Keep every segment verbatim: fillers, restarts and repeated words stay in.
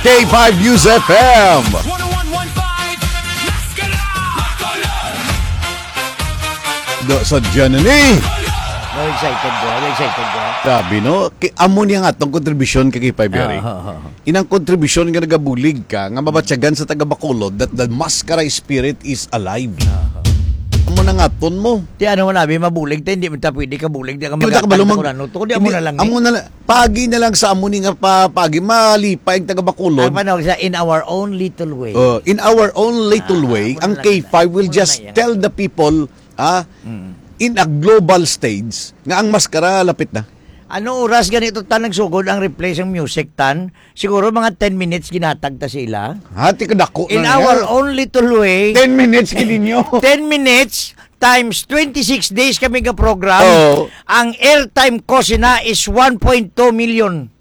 K five News F M. One oh one point five, Maskara. Do sa Janani. Very excited, bro. Very excited, bro. Grabe, no? Ki-, amo niya nga atong kontribusyon kay K five Berry. Ah, ah, ah, ah. Inang kontribusyon nga nagabulig ka, nga mabatyagan sa taga Bacolod that the Maskara spirit is alive. Ah, ah. Amo na nga aton mo. Ti ano man abi, mabulig ta, hindi man ta pwede kabulig, di ka Di man ta magatan kabalo mag-, kung ano. Tukod di amo hindi, na lang ni. Amo na la-, pagi na lang sa amo ni nga pa-, pagi, malipay ang taga Bacolod. Ang panawag sa in our own little way. Oh, in our own little Ah, way, amo na ang lang K five na. Will Amo na just na yan. Tell the people, ah, Mm. in a global stage, nga ang Maskara lapit na. Ano oras ganito ta nagsugod ang replay sang music, Tan? Siguro mga ten minutes ginatag ta sila. Ha, ti kadako In na our niya. Own little way, Ten minutes gid ninyo. Ten minutes times twenty-six days kami ga program. Oo. Ang airtime ko sina is one point two million.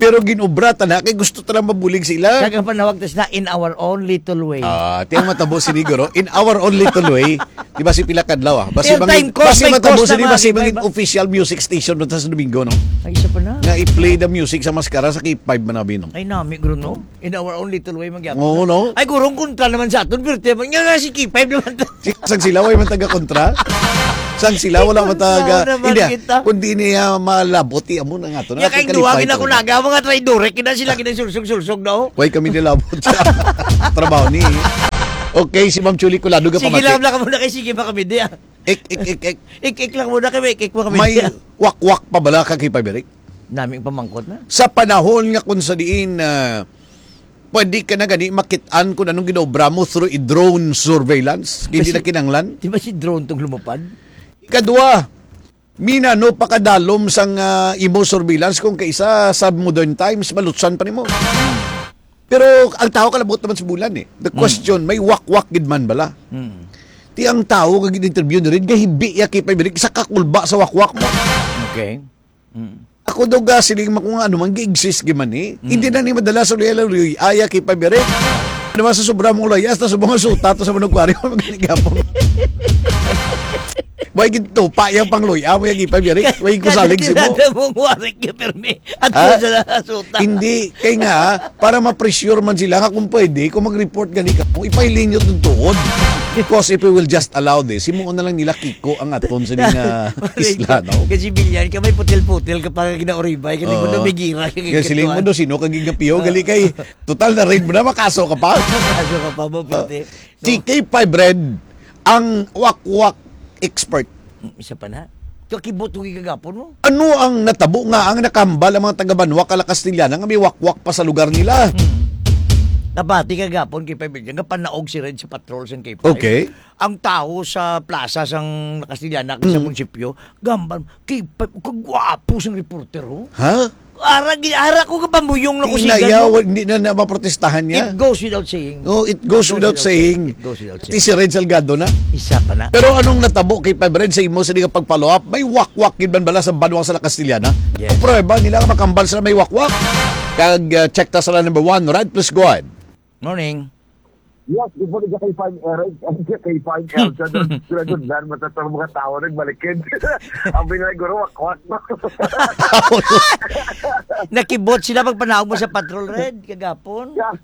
Pero ginobra ta na, kay gusto ta lang mabulig sila. Kag ang panawag ta sina in our own little way. Ah, ti ang matabo sini, guro. In our own little way. Di ba si pila kadlaw, ah? Basi Airtime mangin-, cost basi by matabo cost sini, na mga basi di ba mangin iba? Official music station mo ta sa Domingo, no? Ay, isa pa na. Nga i-play the music sa Maskara sa K five man abi, no? Ay, nami, guro, no? In our own little way, magyapon Oo, na. No? Ay, guro, ang kontra naman sa aton, pero tiyan, nga nga si K five naman to. Si-, sang sila, way man taga kontra? Sang sila, wala man taga, Kontra naman hindi, ah, kita. Kundi niya malabot, iya mo na nga to. Nga Natin kay duwagin kalipay ako to. Naga, mga traidore, kina sila kinasulsog-sulsog, no? Way kami nilabot sa trabaho ni. Okay, si Ma'am Chuli Colado ka Sige pamati. Lang, lang muna kay sige pa kami, di, ah. Ik, ik, ik, ik. Ik, ik lang muna kami, ik, ik pa kami. May wakwak pa bala ka kay Pabrik? Naming pamangkot na. Sa panahon nga kung sa diin, ah, pwede ka na gani makit-an kung anong ginobra mo through a drone surveillance, hindi Kasi, na kinanglan. Di ba si drone tong lumapad? Ikadua, mina, no, pakadalom sang, ah, imo surveillance kung kaisa sa modern times, malutsan pa nimo. Pero ang tao kalabot naman sa bulan eh. The Mm. Question, may wakwak gid man bala? Mm. Ti ang tao nga gin-interview na rin, gahibi ya kay Pabrik, isa ka kulba sa wakwak mo. Okay. Mm. Ako daw ga siling man kung ano man, gi-exist gi man eh. Mm. Hindi na ni madala sa luya-luya, aya kay Pabrik. Naman sa sobra mong layas, na sa mga suta, to sa manugwari, magani gapon. Way gintupa yang pangluya, way ang ipay, yari. Way ko salig si mo. Kada mong warik yung pirmi. At Ha? Sa nasuta. Hindi, kay nga, para ma-pressure man sila nga kung pwede, kung mag-report gani ka, kung ipahiling nyo itong tuod. Because if we will just allow this, himuon na lang nila Kiko ang aton sa mga isla, no? Kasi bilyan ka, may putil-putil ka pa ginauribay, kasi Oo. Mo na may gira, Kaya siling mo do, sino ka gigapiyo? Oo. Gali kay, total na raid mo na, makaso ka pa. Makaso ka pa, mo, pwede. No? T K five Red, ang wakwak expert. Mm, isa pa na. Kakibot ko gagapon mo. Ano ang natabo nga ang nakambal ang mga taga-Banwa kala Castellana nga may wakwak pa sa lugar nila? Hmm. Nabati kagapon kay Pabrik nga panaog si Red sa patrol sang K five. Okay. Ang tao sa plaza sang Castellana sa Mm. munisipyo, gambal, "K five, kagwapo sang reporter, oh." Ha? Ara, gi-, ara ko kapamuyong na Hindi na, kusigan mo. Yaw, hindi na, na maprotestahan niya. It goes without saying. No, it goes It goes without without saying. It goes without saying. Ti si Red Salgado na. Isa pa na. Pero anong natabo kay Five Red sa imo sa nga pag-follow up? May wakwak gid man bala sa Banwa sa La Castellana? Yes. Ang prueba nila nga makambal sila may wakwak. Kag, uh, check ta sa number one, right? Please go ahead. Morning. Yes, before the K five Eric, K five Elsa, doon, sila doon lang, matatang mga tao nagbalikid. Ang binigay guro, wakwak, no? Nakibot sila pagpanaog mo sa patrol, Red, kagapon? Yeah.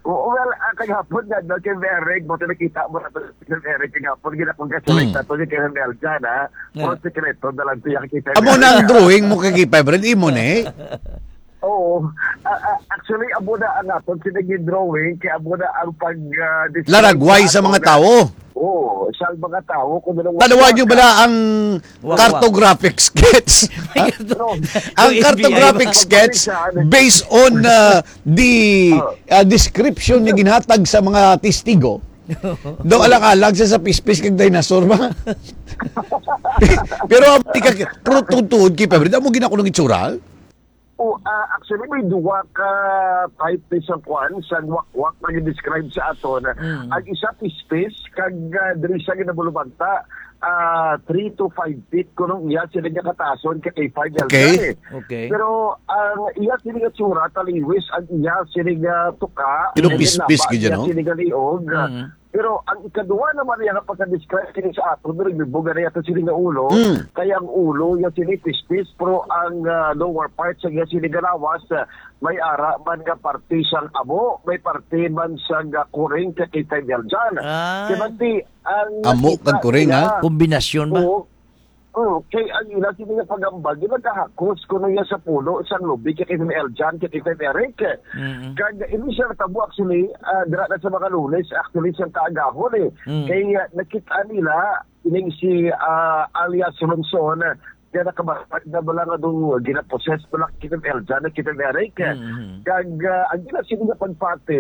Oo, well, ah, kagapon nga, no, kay Eric, buti nakita mo na to, kay Eric, kagapon, ginakong gasolate Mm. na to, si Kevin Elsa, na, Yeah. Puro sekreto na lang siya, kay Amo na ang Eric. Drawing mo kay K five, Red, imo na eh. Oo. Ah, ah, actually, amo na ang aton sila gin-drawing, kay amo na ang pag, ah, describe Laragway sa sa aton mga na tawo. Oo, sa mga tawo, kung anong Tanawan nyo wakwak bala ka. Ang Wakwak. Cartographic sketch? May Ha? Carto-, Ang yung F B I cartographic ba? Sketch, ano? Based on, ah, the, Oh. Ah, description nga ginhatag sa mga testigo, daw alang-alang siya sa pispis kag dinosaur ba? Pero ang ika-, pero tuod-tuod kay Pabrik, amo gid ako ng itsura. Oh, ah, actually, may duwa ka type ni sa kwan, sa wakwak nga gi-describe sa aton. Mm. Ang isa, pispis, kag, ah, diri siya ginabulubanta, ah, three to five feet, kunong iya, sila niya katason, kay five Okay. L K. Okay. Pero, ang iya, sila nga tsura, taliwis, ang iya, sila nga tuka, Pero and then pispis, napa, gid, iya, no? Sila nga liog, Mm. Pero ang ikaduha naman niya nga pagka-describe sini sa ato, pero gibuga na yata sini nga ulo, Mm. kay ang ulo niya sini pispis, pero ang, ah, lower part sa iya sini galawas, ah, may ara man nga parte sang amo, may parte man sang, ah, kuring kay Kitay Verjan. Ah. Kay bati, ang Amo nakita kag kuring, nila, ha? Kombinasyon ba? Oo. Mm, kay ang ila sini nga pag-ambag, di ba, gahakos kuno iya sa pulo sang lubi kay Kim Eljan, kay Kim Eric. Mm-mm. Kag ini siya natabo, actually, ah, dira na sa mga Lunes, actually, sa kaagahon, eh. Mm. Kay, ah, nakita nila ining si, ah, alias Ronson, nga nakabarag na bala nga do, ginaposes bala kay Kim Eljan, kay Kim Eric. Mm-hmm. Kag, ah, ang ila sini nga pagpati,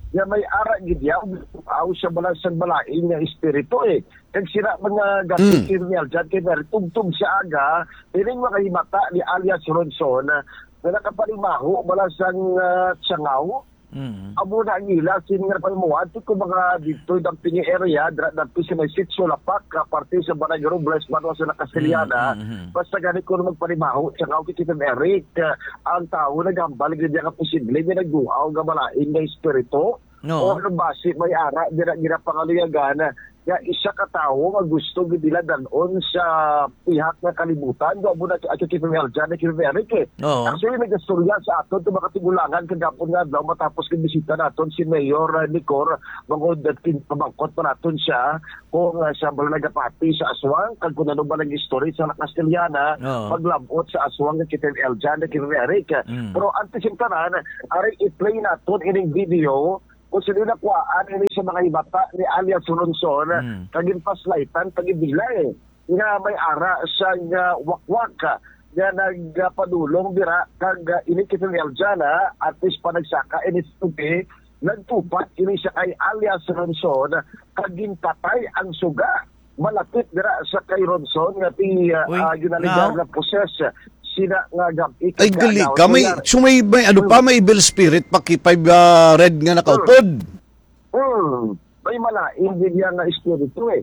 nga may ara gid iya, aw siya bala sa balaing nga espiritu, eh. Kag sira man nga gamit Mm. kay Ronel John kay Mary, tubtob sa aga, ining mga himata ni alias Ronson, ah, nga nakapalimaho bala sang, ah, tiyangaw. Mm. Amo na ang ila, sin nga palimuhan, ti ko mga dito, Dampingi area, dra-, dito sa may Sitio Lapak, ah, parte sa Barangay Robles, Banwa sa Castellana. Mm, mm, mm. Basta gani ko magpalimaho, tiyangaw kay Tito Eric, ah, ang tao naghambal gid nga posible nga nagduaw nga malain nga espiritu. No. O ano, basi may ara dira ginapangaluyagan nga isa ka tawo nga gusto gid nila dal-on sa pihak nga kalibutan. Do amo na, ato, Kim Eljan, Kim Eric, eh. Oo. Actually, nagastorya sa aton itong mga tigulangan kagapon nga adlaw matapos kag bisita naton si Mayor, uh, Nicor, bangod at kin-, pamangkot pa naton siya kung, uh, siya ba nagapati sa aswang, kag kung ano ba nag-istorya sa Castellana, Oo. paglabot sa aswang nga Kim Eljan, Kim Eric. Mm. Pero antes yung tanan, ari i-play naton ining video kung sino nakuhaan ini sa mga himata ni alias Ronson, Mm. kag ginpaslightan, pag-ibila, eh, nga may ara sa nga wakwak, ah, nga nagpadulong dira kag, ah, ini kay Fidel Jana, at least pa nagsaka ini sa tubig, nagtupat ini siya kay alias Ronson, kag ginpatay ang suga. Malapit dira sa kay Ronson nga ti, ah, Uy, ah, ginaligar now? na poses sina nga gab-, Ay, gali ikagkalaw ka. May, niya. So may, may ano Hmm. pa, may evil spirit pa kay Five, ah, Red nga nakaupod. Hmm. May malain din niya nga espiritu, eh.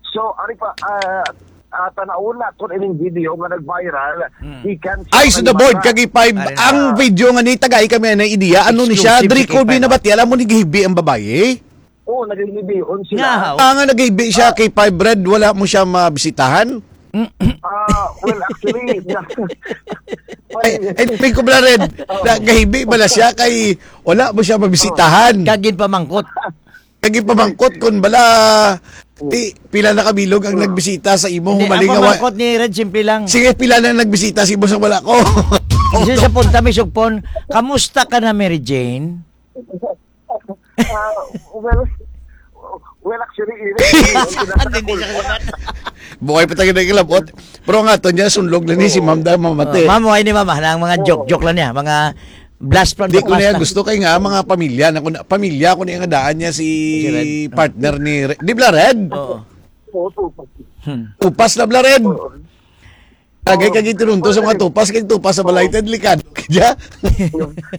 So, ari pa, ah, ah, tanawon naton ining video nga nag-viral, Hmm. ikan sa Ay, so the board, Kalimata. Kag Five, Ari na. ang video nga ni tagay kami na idea, ano ni siya? Exclusive Dri kay Colby Five, na ah. bati, alam mo ni gihibi ang babae? Oo, naghihibion sila. Nga, Ah, nga naghibi siya Ah. kay Five Red, wala mo siya mabisitahan? Ah, well, actually, na- Ay, ay, may kubla red. Oh. Nagahibi bala siya kay wala mo siya mabisitahan. Kag ginpamangkot. Kag ginpamangkot kun bala, ti, pila na kabilog ang Mm. nagbisita sa imo, Hindi, humaling ang nga wa- pamangkot ni Red, simple lang. Sige, pila na nagbisita sa imo sa wala ko? Isa sa punta, may sugpon, "Kamusta ka na, Mary Jane?" Ah, well, well, actually, ini, Hindi siya kalimat. Buhay pa tayo na ilabot. Pero nga, to niya, sunlog na ni si Oo. Ma'am dahil mamati. Oh, ma'am, ay ni Ma'am, ah, ang mga Oo. joke-joke lang niya, mga blast from Di the ko past niya lang. gusto kay nga, mga pamilya, na, pamilya ko niya nga daan niya si Si Red. partner ni Re-, di bla Red? Oo. Oo, tupas. Hmm. Tupas na bla Red. Oo. Agay Oo. kag itinunto sa mga tupas, kay tupas sa balay, Oo. delikado kaya.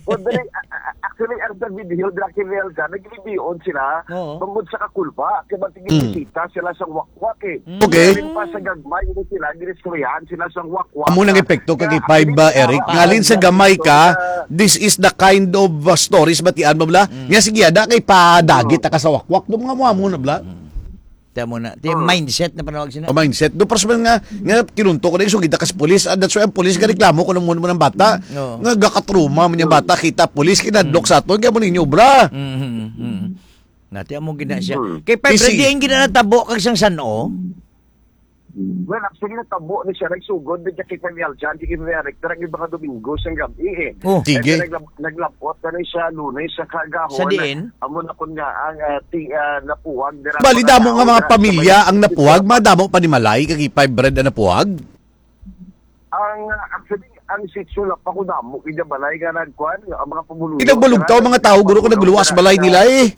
Well, dali, a-, a-, actually, ang sa video, Black and Velga, naglibihon sila, Oo. tungod sa kakulba, kay ba't Mm. ginibisita sila sa wakwak, eh. Mm. Okay. Ngalin pa sa gagmay, ito sila, ginistoryahan sila sa wakwak. Amo nang epekto kag Kaya, Five, ah, Eric. ah, Ngalin sa ah, gamay ka, ah, this is the kind of, uh, stories batian mo, bla? Mm. Nga, sige, ada kay padagit Oo. ta ka sa wakwak. Doon nga mo, amo na, bla? Mm. Tiyan mo na. Ti Oh. mindset na panawag sina. O mindset. Do, pras man nga, nga kinunto ko na yung sugita ka sa pulis. Ah, that's why ang pulis ka reklamo ko naman mo ng bata. Oo. Nga gakatruma man yung bata, kita pulis, kinadlok Mm. sa ato. Kaya mo ninyo, bra. Mm, mm, mm. Nati, amo gina siya. Mm. Kay Five Easy. Red, diin gina natabo kag sang san-o? Well, actually, natabo ni siya. Nagsugod, di siya kay Samuel John, di kay Maria Rector, ang iba nga Domingo, sang gabi, eh. Oh. Sige. Kaya naglab-, naglabot na rin siya, Lunes, sa kagahon. Sa diin? Amo na kun nga ang, ah, ti-, ah, napuwag dira Bali, mga damo nga tao mga dira sa pamilya may ang napuwag, mga damo panimalay, kag Five Red ang napuwag? Ang, ah, actually, ang sitio lang pa ko damo, kaya balay nga nagkuhan, ang mga pumuluyo, Pinagbulog tao, mga tao, guro, kung nagluwas balay nila, eh.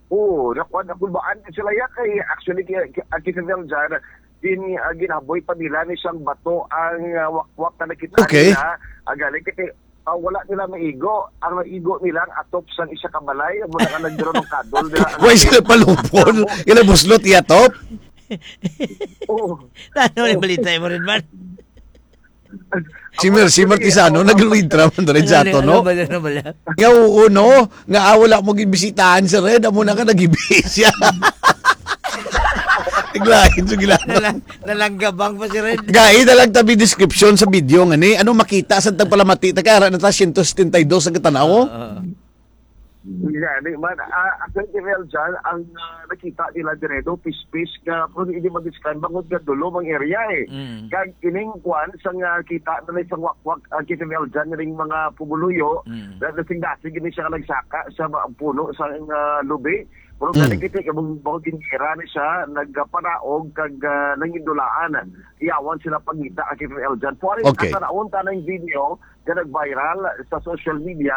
Oo, nakuha na kulbaan na sila ya kay actually kay, kay, ang kay Fidel dyan, din, ah, ginaboy pa nila ni siyang bato ang, ah, wakwak na nakita Okay. nila. Ah, galing kay, ah, wala nila maigo. Ang naigo nila ang atop sang isa ka balay. Amo na nga nagduro ng kadol nila. Why sila palupon? Ila buslot iya top? Oo. Ano yung balita mo rin man? Si Mercy Martisano, nag-read ra man diri sa ato, no? Ano ba yan? Ano ba yan? Nga, oo, no? Nga, ah, wala mo gibisitahan si Red, amo na nga nagibis siya. Naglain, sige lang. Nalang-, nalanggabang pa si Red. Gai na lang tabi description sa video nga ni. Ano makita sa tagpalamati? Ta kay ara na ta, siyento setenta y dos ang katanaw. Oo. Gani man, ah, actually, Real John, ang, ah, nakita nila dire, no, pispis nga, pero hindi ma-describe bangod nga dulom ang area, eh. Mm. Kag ining kwan, sa nga kita na ni sa wakwak, ah, kita, Real John, ning mga pumuluyo, Mm. na dasig-dasig gini siya nga nagsaka sa ma-, puno sa, ah, lubi. Pero Mm. gani kita, kabang, bangod gingira ni siya, nagpanaog, kag, ah, nangindulaan. Iyawan sila pangita, ah, kita, Real John. Kuwari, Okay. Ang tanawon ta ng video, nga nag-viral sa social media,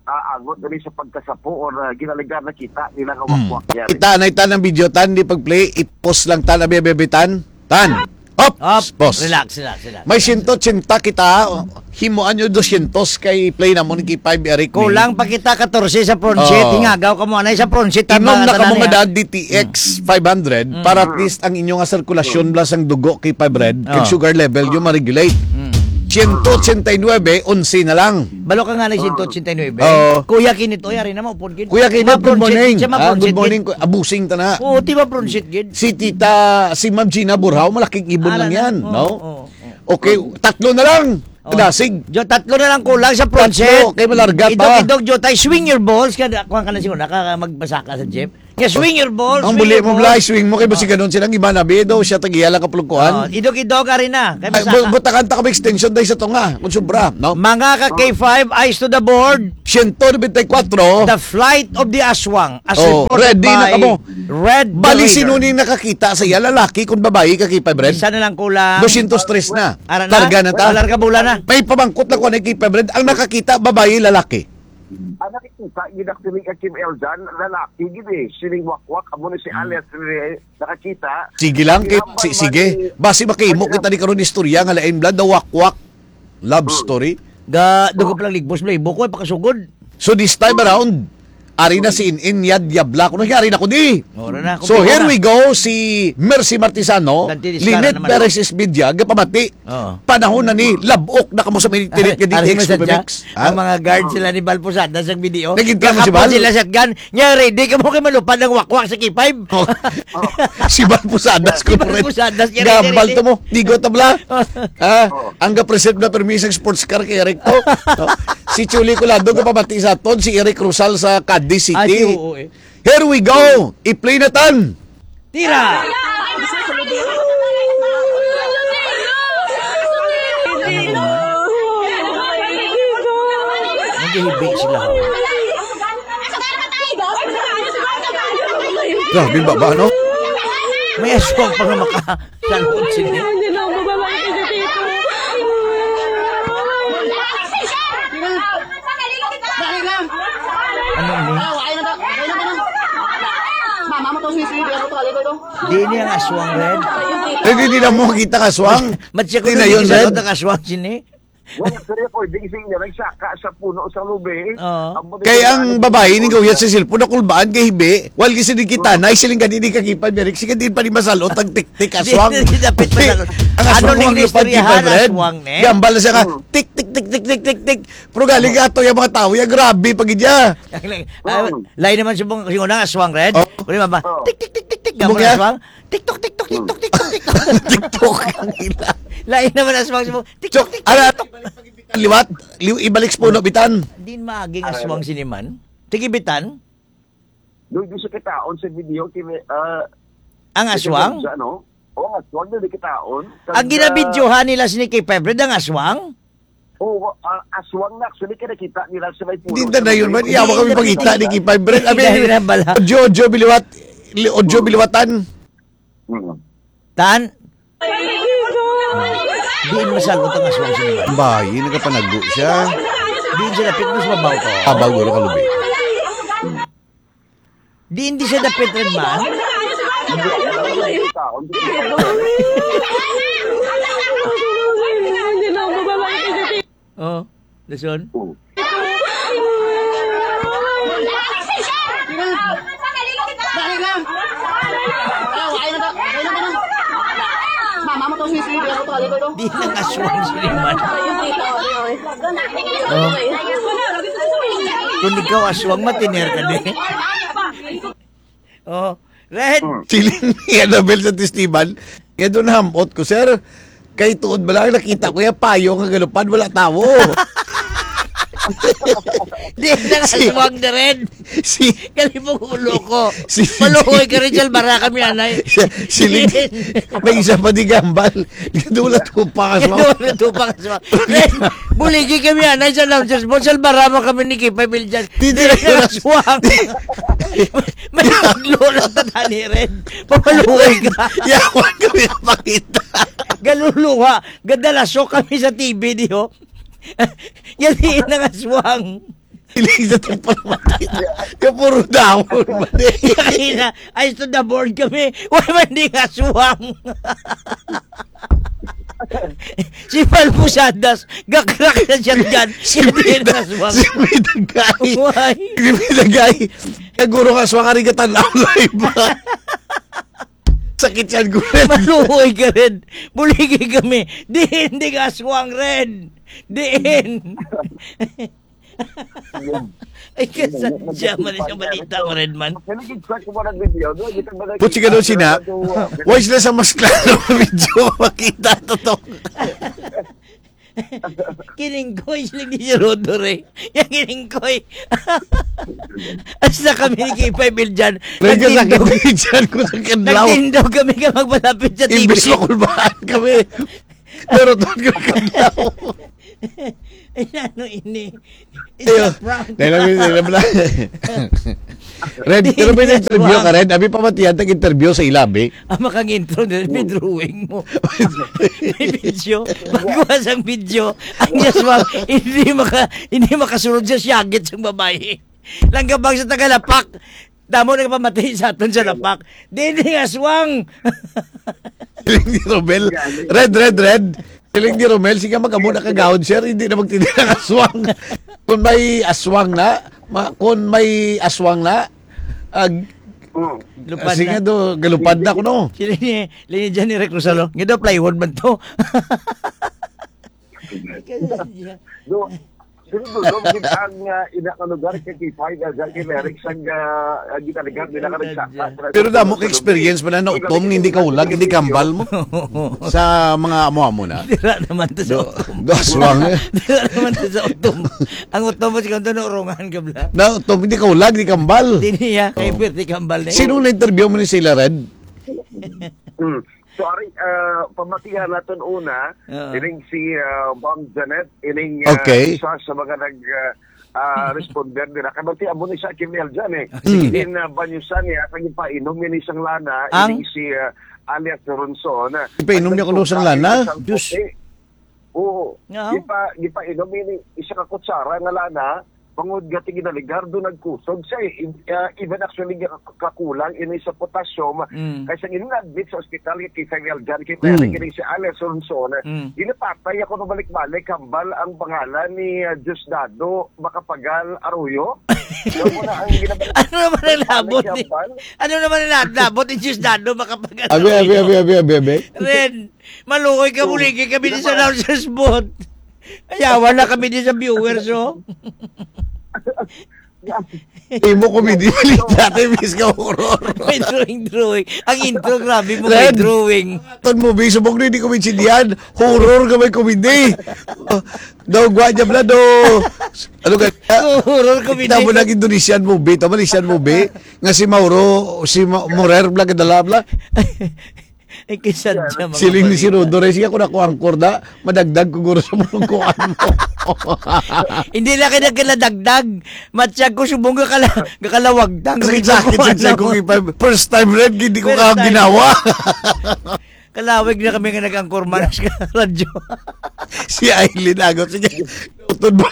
ah, angot gani sa pagkasapo or, ah, ginalegar nakita nila nga Mm. wakwak yan. Kita na, ita ng video, Tan, di pag-play, i-pause lang, Tan, abi, abi, abi, Tan. Tan! Op! Op! Pause. Relax, relax, relax. May siyento ochenta kita, himuan nyo dosyentos kay play na mo ni K five, Eric, ni. Kulang pa kita katorse sa front seat. Oh. Hingagaw ka mo, anay sa front seat, Inom tama na ka kamo ni, nga ah. daan D T X Mm. five hundred Mm. para at least ang inyo nga sirkulasyon, Mm. blas ang dugo, K five Red, kag Oh. sugar level nyo ma-regulate. Mm. Siyento ochenta y nuebe, onse na lang. Balo ka nga na siyento ochenta y nuebe. Oo. Kuya Kinito, yari na mo, upod gid. Kuya Kinito, good morning. Siya ma-, Ah, good morning. Ku-, abusing ta na. Oo, di ba, bronzit gid? Si Tita, si Ma'am Gina Burhao, malaking ibon Ala lang na. yan, Oo, no? oo, oo. Okay, tatlo na lang. Oh. Kadasig. Jo, tatlo na lang kulang sa front Tatlo, seat. kay malarga pa. Idog-idog, jo, tay, swing your balls. Kada, kuha ka na siguro, naka-, magbasa ka sa jeep. Nga, swing your balls, Ang swing buli your mo, balls. Bla, swing mo, kay Oh. basi ganun silang iba na, bido, siya tagiya lang kapulungkuhan. Oh, idog-idog, ari na. Kay Ay, basa bu-, ka. butakan ta kami extension dahil sa tunga, kung sobra, no? Mga ka K five, eyes to the board. Siyento nobenta y kuwatro. The Flight of the Aswang, as Oh, reported ready na by kamo. Red Bali, Raider. Sino ni nakakita sa iya? Lalaki kung babayi ka, K five Red? Isa na lang kulang. Dosyentos tres na. Ara na? Larga na ta. Larga bola na. May pamangkot na ko ni K five Red. Ang nakakita, babayi, lalaki? Ang nakikita, gid actually ka Kim Eljan, lalaki gid eh. Sining wakwak, amo na si Hmm. Alex Rene, nakakita. Sige lang, kay, Kaya si-, man, sige. man, Basi makahimo man, kita ni karon istorya nga lain bla, the wakwak love Hmm. story. Ga, dugo Oh. pa lang ligbos, bla, ibo ko, eh, pakasugod. So this time around, ari na si Inin Yad Yabla. Kuno ari na ko di. Ora na, So, here kumpleto na. we go, si Mercy Martisano, Dante Discara Lynette naman. Perez Espedia, gapamati. Oo. Panahon na ni, labok na kamo sa minit-minit nga Ari D X mo sa Comics. dya, Ha? ang mga guard sila ni Bal Posadas sa video. Naging ka mo si Kakapon Bal? sila sa gun. Nya, ready ka mo kay malupad ang wakwak sa K five. Oh. Si Bal Posadas Si ko Bal rin. Posadas, nya, ready, Gambal ready. to mo. Digo tabla. Ha? Oh. Ang ga-preserve na permi sa sports car kay Eric to. No? Si Chuli Colado, gapamati sa aton, si Eric Rosal sa Cadiz City. Ay, oo, eh. Here we go! I-play na tan! Tira! Naghihibi sila. Grabe ba ba, no? May aswang pa nga maka-, Salud, sige. Hindi na ako mabalangkay sa tito. Dali lang. Ano ini? Ah, wala na ba? Wala na ba na? Mama mo to, sisi, hindi ako to, alito to. Di ini ang aswang, Red. Eh, di, di na mo makita ang aswang. Mat siya ko Di na yun, nagkikita Red. sa aswang, sini. Wala, sir, ako, di kasi niya nagsaka sa puno sa lubi. Oo. Ang mga Kay ang babae ni gawya sa cellphone, nakulbaan kay hibi. Wal gisi di kita, na isiling ka di, di kakipan, Merrick. Sige, di pa di masalot ang tik-tik, Di, aswang. di, di, dapit pa Tik, na. ang aswang Ano mo ning ang lupad, istoryahan, Kipan, Red. aswang, ne? Gambal na siya nga, Hmm. tik, tik, tik, tik, tik, tik, tik. Pero galing ka ato yung mga tao, yung grabe, pag iya. Ah, Hmm. lain naman sa mga, kasi unang aswang, Red. Oh. Kundi ba, ba? Oh. Tik, tik, tik, tik, tik, Subong gambal yan? aswang. TikTok, TikTok, TikTok, TikTok, TikTok. TikTok ang ila. Lain naman aswang sa mga, TikTok, So, TikTok, ala, TikTok. Liwat, liw-, ibalik sa puno, bitan. Din maaging Ano? aswang siniman. Tigi bitan? Doon, doon sa kitaon sa video, kini, ah, Ang sa aswang? sa ano? Oo, ang aswang doon, di kitaon. Ang Kag, ginabidyohan ah, nila sini kay Febred, ang aswang? Oo, ah, aswang na. Actually, kaya nakita nila sa may puno. Hindi na yun, man. Hindi Yawa kami na pagkita ni nakita. Kay Febred. Abi, Hindi na bala. Jojo Biliwat, li-, Ojo Biliwatan. Hmm. Tan? Diin masalot ang aswang sa nila. Bayi, nagapanago siya. Diin siya dapit, mas mabaw ka. Abaw, gulo ka, lubi. Diin di siya dapit, Red Man? Oh, listen. Dali lang. Ah, wala na ba? Wala na ba na? Mama mo to, sisi. Hindi ako to, alito Di na aswang si Liman. Oh. Kung ikaw aswang, matiner ka din. Oh. Red. Hmm. Siling ni Annabel sa Testiban, nga doon hamot ko, "Sir, kay tuod ba lang nakita ko yung payo nga galupad, wala tawo." Di na Si- aswang na rin. Si Galing mong ulo ko. Si- Maluhoy ka rin, Salbara kami, anay. Si- Siling, may isa pa di gambal. Dula to pa aswang. Dula to pa aswang. Buligi kami, anay, sa announcers mo. Salbara mo kami ni Kipay Biljan. Di, di, Di na aswang. May maglola ta ni rin. Pamaluhoy ka. Yawan kami pakita. Galuluha. Gadalasok kami sa T V, di ho. Yan, di na aswang. Hiling sa tagpalamatid. Kaya puro dahon, mali. Kaya na, ay, to the board kami. Why man di nga suwang? Si Mal Posadas, gakrak na siya dyan. Si Hindi May na Dag-, suwang. si May Dagay. Why? Si May Dagay. Kaguro nga suwang, ari ka tanaw live. Sakit yan, Gwen. Maluhoy ka rin. Buligi kami. Diin, di ka aswang rin. Diin. Ay, kasadya man yung balita mo rin man. Putsi ka daw sina. Why sila sa mas klaro nga video? Makita to to. Kining koy, sila ni si Rodore. Yang kining koy. Hasta kami ni Kipay Biljan. May kasakit Nagtindog. Biljan ko sa kadlaw. Nagtindog kami ka magpalapit sa T V. Imbes makulbaan kami. Pero doon ko kadlaw. Ay, ano ini? It's Ayo. a prank. Dahil lang, dahil lang. Red, Di pero may niya interview ka, suwak. Red. Abi pa matiyan, tag-interview sa ilabi. Ang makang intro na may drawing mo. May video. Pagkuha sang video, ang Yaswang, hindi maka, hindi makasulod sa siyagit sang babae. Langgabang sa Tagalapak. Damo na kapamati sa aton sa Lapak. Di, di, aswang. Siling ni Romel. Red, red, red. Siling ni Romel, sige, magamo na kagawad, sir. Hindi na magtindi ng aswang. Kung may aswang na, ma-, kung may aswang na, ag-, Mm. Lupad sige na. Do, galupad na kuno. Sila ni, sila ni Johnny Recruzalo. Nga daw plywood man to. Do, pero do, do, gid ang, ah, ina nga lugar kay Kipay, ah, dyan kay Merrick, sang, ah, ah, gitaligan nila ka nagsaka. Pero damo ka experience man na nautom, hindi ka ulag, hindi kambal mo. Sa mga amo-amo na. Dira naman to sa Do, utom. Do, aswang, eh. Dira naman to sa utom. Ang utom mo, si Kanto, naurongan ka, bla. Na utom, hindi ka ulag, hindi kambal. Di niya, kay Oh. Pwerte kambal na yun. Sino na-interview mo ni sila, Red? Hmm. Sorry, ah, pamatihan naton una, Oo. ining si, ah, Ma'am Janet, ining, ah, Okay. isa sa mga nag, ah, ah, responder nila. Kay bati amo ni sa Kim L dyan, eh. Ah, sige. Hmm. In, ah, Banyusan niya, kag ipainom niya ni sang lana, Ang? ining si, ah, alias Ronson. Ipainom niya kuno sang lana? Isang Diyos. puti. Oo. Nga? Gipa-, gipainom ini isa ka kutsara nga lana, bangod nga ti ginaligardo nagkusog siya, eh. In-, ah, even actually, ga-, kakulang ini sa potassium. Mm. Kay sang ina na-admit sa ospital, kay Kay Fidel John, kay Mm. Mary, kini si Alice Ronson, Mm. ginapatay ako nung balik-balik, hambal ang pangalan ni, ah, Diosdado Macapagal Arroyo. Yan mo na ang ginabalik-balik Ano naman ang labot ni, hambal. Ano naman ang labot ni Diosdado Macapagal Abi, abi, Arroyo? abi, abi, abi, abi. Ren, Maluoy ka, Oh. buligi kami di sa announcers booth. Ayawan na kami di sa viewers, oh. Imo komedi, balita, te, bis ka horror. May drawing, drawing. Ang intro, grabe mo, may Red. drawing. Ton mo, bis, subok na, hindi ko maintindihan. Horror ka may komedi. Oh, daw, gwa niya, bla, do. Ano ka? Horror comedy. Tama na Indonesian movie, tama Malaysian movie. Nga si Mauro, si Ma-, Morer, bla, kadala, bla. Ay, kay sadya, mga Siling ni si pare. Rodo, "Ray, sige, ako na ko angkor da. Madagdag ko guro sa mga kuan mo." Hindi na kay nagkaladagdag. Matyag ko subong ka kala-, kakalawagtang. Sakit-sakit, Kuan sakit mo. Ko, first time red, hindi ko First ka time. ginawa. Kalawig na kami nga nag-angkor man sa radyo. Si Aileen Agot, sige. Utod mo.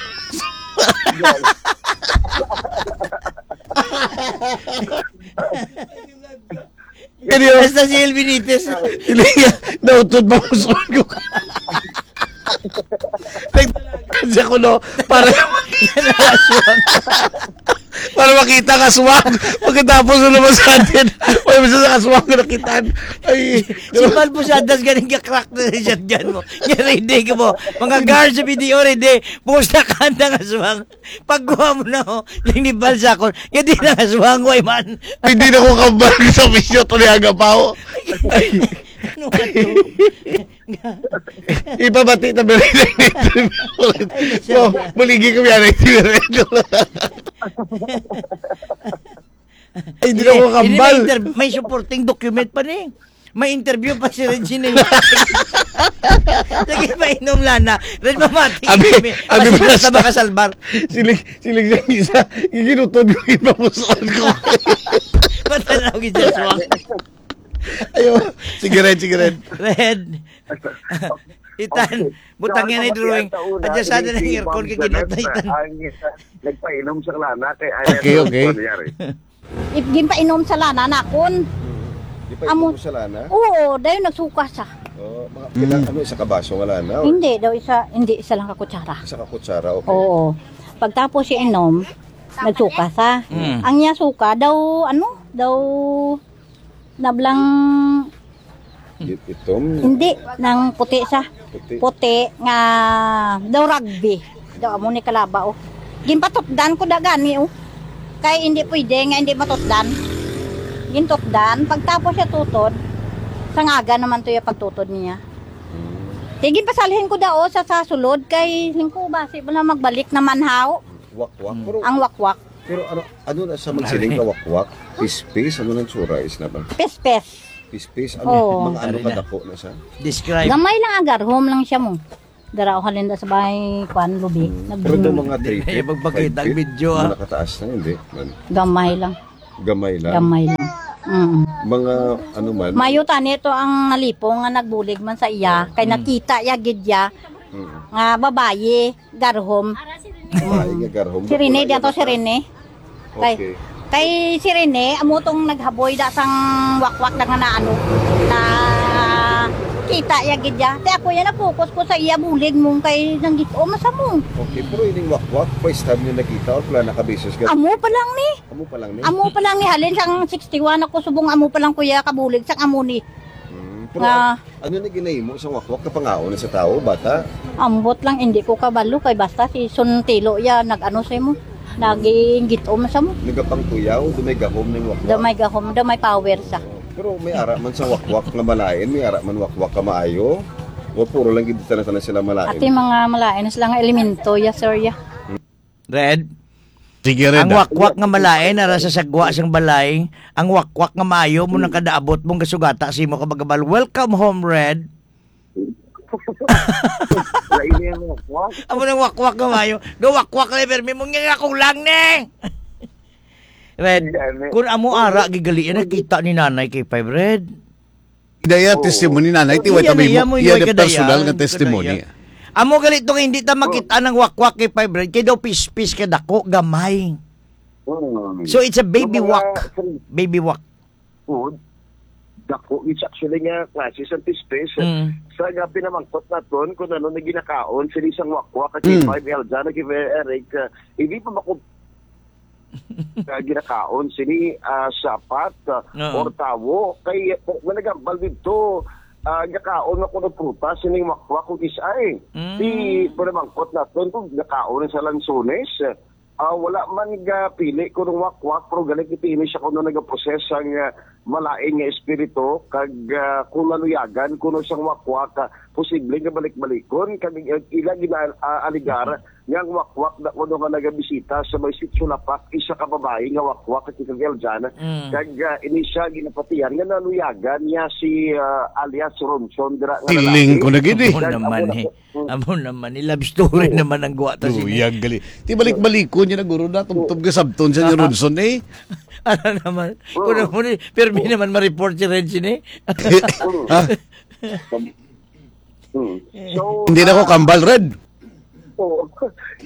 Ganyan. Basta si El Benitez. Hindi, nautod ba mo sa ko? Nagtatagan siya ko, no? Para, para Makita ka aswang. Pagkatapos na naman sa atin. Wala mo sa aswang na nakitaan. Ay, Si Mal po siya, das ganing ka-crack na siya dyan mo. Nga ready ka mo. Mga guards sa B D O, ready. Pusta ka ang aswang. Pagkuha mo na, oh. Lang ni Bal sa akon. Nga di na aswang, way man. Hindi na ko kambal sa bisyo, tuloy ang gabaw. Ano ka to? Ipabati na ba rin ang interview? Ay, Oh, maligi ko yan, interview. Ay, hindi na ko Hindi, hindi, may kambal. inter-, may supporting document pa ni. May interview pa si Regine. Sige, painom lana. Red mamati. Abi, Kami. abi, Mas basta. basta makasalbar. Siling, siling sa isa. Iginutod ko, ipamusuan ko. Patanaw gid sa suwang. Ayo. Sige, Red, sige, Red. Red. Itan, Okay. butang yan ay drawing. Adya sa atin ang aircon kay ginot na itan. Ang, uh, nagpainom sa lana kay Okay, okay. If ginpainom sa lana nakon. Di pa Amo- ito sa lana? Oo, dayon nagsuka sa. Oh, mga Mm. pila, ano, isa ka baso nga lana, or? Hindi daw isa, hindi isa lang ka kutsara. Isa ka kutsara, okay. Oo. Pagtapos siya inom, nagsuka sa. Mm. Ang niya suka daw, ano, daw nablang It-, itom? Hindi, nang puti sa. Puti. Puti nga daw rugby. Daw amo ni kalaba, oh. Ginpatutdan ko da gani, oh. Kay hindi pwede nga hindi matutdan. Gintutdan, pagtapos siya tutod, sangaga naman to yung pagtutod niya. Hmm. Sige, pasalhin ko da, oh, sa, sa sulod, kay lingko, basi wala magbalik naman, haw. Wakwak. Hmm. Pero, Ang wakwak. pero ano, ano na sa magsiling ka wakwak? Pispis? Ano nang tsura is na ba? Pispis. Pispis? Ano, Oo. mga ano Ano na? kadako na siya? Describe. Gamay lang, agarhom lang siya mo. Dara o halin da sa bahay, kwan, lubi. Hmm. Nag- Pero daw mga Hindi three na feet, yung magpakita five ang feet, video, ah. mga kataas na, hindi. Man. Gamay lang. Gamay lang. Gamay lang. Mm. Mga ano man. Mayo tani to ang nalipo nga nagbulig man sa iya, kay Mm. nakita ya gid ya Mm. nga babayi, garhom. Babayi nga garhom. Si Rene, Wala diyan to yan si na. Rene. Kay, Okay. kay si Rene, amo tong naghaboy da sang wakwak da nga na ano, na kita ya gid ya. Te ako ya, na-focus ko sa iya bulig mong kay nang git-, o, masa mo. Okay, pero ining wakwak, first time niyo nakita or pala nakabeses ka? Amo pa lang ni. Amo pa lang ni? Amo pa lang ni, halin sang sixty-one ako subong, amo pa lang kuya kabulig sang amo ni. Hmm, pero Nga an-, ano na ginahimo sa wakwak, kapangaon na sa tao, bata? Ambot lang, hindi ko kabalo kay basta si Suntilo ya nag-ano sa imo, naginggitom sa mo. Nagapangtuyaw, do may gahom ning wakwak? Do may gahom, do may power sa. Pero may ara man sa wakwak nga malain, may ara man wakwak ka maayo. O puro lang gid tanan-tanan sila malain. Ati mga malain sila nga elemento, ya, sir, ya. Red? Sige, Red, Ang ah. wakwak nga malain, ara sa sagwa sang balay. Ang wakwak nga maayo mo nang kadaabot mong gasugata sa imo kabagabal. Welcome home, Red. Lain yung wakwak. Amo nang wakwak nga maayo. Gawakwak na, permi mo nga kulang ni. Red, Yan, eh. kung amo ara, gigali, nakita ni Nanay kay Five, Red. Daya Oo. testimony, Nanay, ti Iya, way tabi iya mo, mo, iya iya di kadaya, personal nga kadaya. testimony. Amo gali to nga hindi ta makita ng wakwak kay Five Red, kay daw pispis ka dako, gamay. Mm. So, it's a baby Yung mga wak. Baby wak. Food, dako, it's actually nga klase sa pispis. Mm. Sa nga pinamangkot naton kung ano na ginakaon, sini sang wakwak, kay Mm. Five Eljan, kay Eric, uh, hindi pa mako-, nga ginakaon sini, ah, sapat, ah, Oo. or tawo. Kay, eh, managambal dito, ah, gakaon nga kuno prutas sining wakwak kung isay. Mm. Di, panamangkot naton kung gakaon sa lansones, ah, wala man gapili kuno wakwak, pero galing ipili siya kuno nagaproses ang, ah, malain nga espiritu, kag, ah, kung naluyagan kuno sang wakwak, ah, posible nga balik-balikon, kag, ah, ila gina-, ah, aligar, nga ang wakwak na kuno nga nagabisita sa may Sitio Lapak, isa ka babayi nga wakwak, Ate Kagel Jan. Mm. Kag, ah, ini siya ginapatihan nga naluyagan niya si, ah, alias Ronson dira nga Siling lalaki. ko na gid eh. Amo Kag naman amo na eh. po, mm. Amo naman, i-love story Oo. naman ang guwa ta sini. Luyag gali. Ti balik-balikon niya na guro na, tubtob ka sabton siya ni Ronson eh. Ano naman? Oo. Kuno mo ni, pirmi naman ma-report si Red sini. Ha? Hmm. So, Hindi na ko ah, kambal, Red. Oo.